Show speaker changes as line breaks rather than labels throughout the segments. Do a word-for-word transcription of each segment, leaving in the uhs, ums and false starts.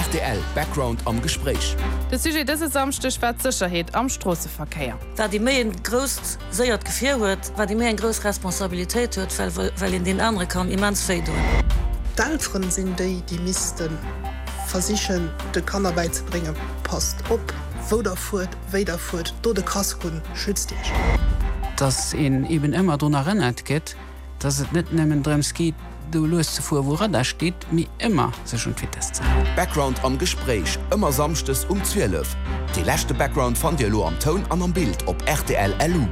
Rtl Background am Gespréich.
De Sujet dëse Samschdeg war d'Sécherheet am Stroosseverkéier.
Wat ee méi e grousst séiert Gefier huet, wat ee méi eng grouss Responsabilitéit huet, well well een deen anere kann immens wéi doen.
D'Elteren sinn déi, déi misste versichen de Kanner bäizebréngen, Passt op, wou der fuert, wéi der fuert, dot de Casque un, schützt iech.
Dass een eben ëmmer drun erënnert gëtt, dass et net nëmmen drëms geet, do lues ze fueren, wou Radar steet, mee ëmmer sech un d'Vitess ze halen.
Background am Gespréich, ëmmer samschdes um zwielef. Dee leschte Background fannt Dir elo am Toun an am Bild op rtl L U.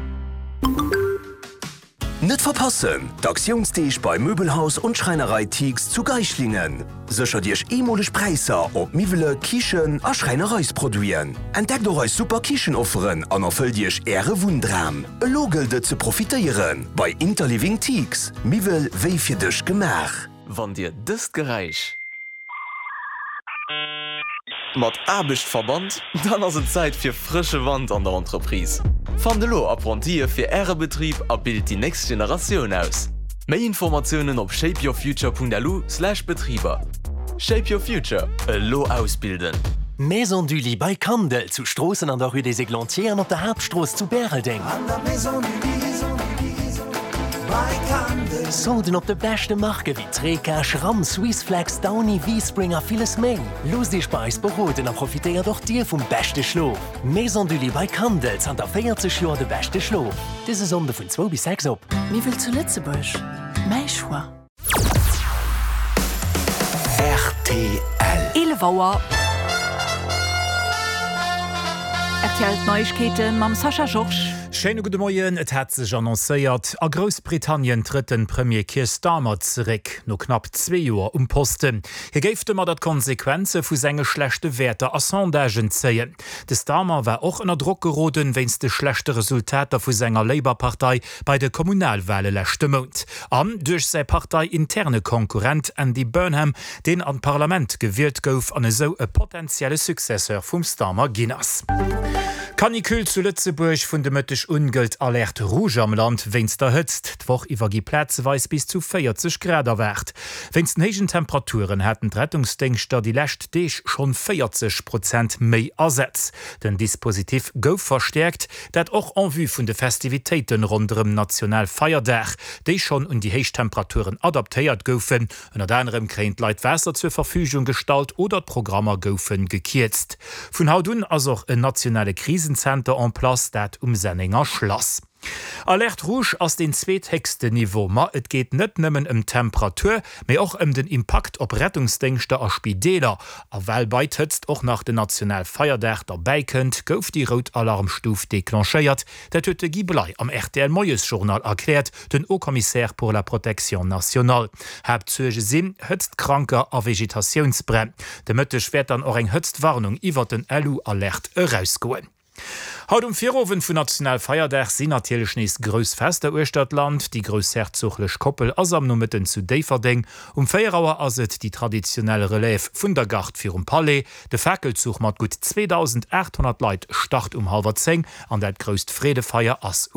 Net verpassen, d'Aktiounsdeeg bei Möbelhaus und Schreinerei Tiegs zu Geislingen. Séchert Iech eemoleg Präisser op Miwwele, Kichen a Schräinereisproduiten. Entdeckt och eis super Kichenofferen an erfëllt Iech Äre Wunndram. Elo gëllt et ze profitéieren bei Interliving Tiegs. Miwwel wéi fir dech gemaach.
Wann Dir dëst Geräisch mat Aarbecht verbannt, dann ass et Zäit fir frësche Wand an der Entreprise. Fannt elo Apprentië fir Äre Betrib a bilt déi nächst Generatioun aus. Méi Informatiounen op shapeyourfuture Punkt L U Slash Betriber. Shape Your Future, elo ausbilden.
Maison du Lit bei Kandel zu Stroossen an der Rue des Églantiers an op der Haaptstrooss zu Bäreldeng. Solden op de beschte Marke wéi Treca, Schramm, Swissflex, Downy, V-Spring a villes méi. Loosst Iech bei eis beroden a profitéiert och Dir vum beschte Schlof. Maison du Lit bei Kandel, zanter véierzeg Joer de beschte Schlof. Dëse Sonnde vun zwou bis sechs op.
Miwwel zu Lëtzebuerg, mäi Choix.
Rtl.
eelef Auer. R T L d'Neiegkeete mam Sascha Georges.
Schéine gudde Moien. Et hat sech annoncéiert, A Groussbritannien trëtt de Premier Keir Starmer zeréck, no knapp zwee Joer um Posten. Hie géif domadder d'Konsequenze vu senge schlechte Wäerter a Sondagen zéien. De Starmer war och ënner Drock geroden, wéinst de schlechte Resultater vu senger Labour-Partei bei de Kommunalwale leschte Mount. An duerch säi parteiinterne Konkurrent Andy Burnham, deen an d'Parlament gewielt gouf an esou e potentielle Successeur vum Starmer ginn ass. Canicule zu Lëtzebuerg, Vun de Mëtteg un gëllt Alerte rouge am Land wéinst der Hëtzt. D'Woch iwwer gi plazeweis bis zu véierzeg Grad erwaart. Wéinst den héijen Temperaturen haten d'Rettungsdéngschter déi lescht Deeg schonn véierzeg Prozent méi Asätz. Den Dispositif gouf verstäerkt, dat och en vue vun de Festivitéiten ronderëm Nationalfeierdag, déi schonn un déi héich Temperaturen adaptéiert goufen. Ënnert anerem kréien d'Leit Waasser zur Verfügung gestallt oder d'Programmer goufe gekierzt. Vun haut un ass och en nationale Krisenzenter en place, dat um Sennenger Schlass. Alerte rouge ass den zweethéchsten Niveau, ma et geet net nëmmen ëm d'Temperatur, mee och ëm den Impakt op Rettungsdéngschter a Spideeler. A well bei d'Hëtzt och nach den Nationalfeierdag derbäi kënnt, gouf déi rout Alarmstuf declenchéiert. Dat huet de Guy Bley am R T L Moiesjournal erkläert, den Haut-Commissaire pour la protection nationale. Haaptsuerge sinn Hëtztkranker a Vegetatiounsbränn. De Mëtteg wäert dann och eng Hëtztwarnung iwwer den L U-Alert erausgoen. Haut um Virowend vun Nationalfeierdag sinn natierlech nees grouss Fester uechter d'Land. Déi groussherzoglech Koppel ass am Nomëtten zu Déifferdeng. Um véier Auer ass et déi traditionell Relève vun der Garde virum Palais. De Fakelzuch mat gutt zweedausendaathonnert Leit start um hallwer zéng an dat grousst Freedefeier ass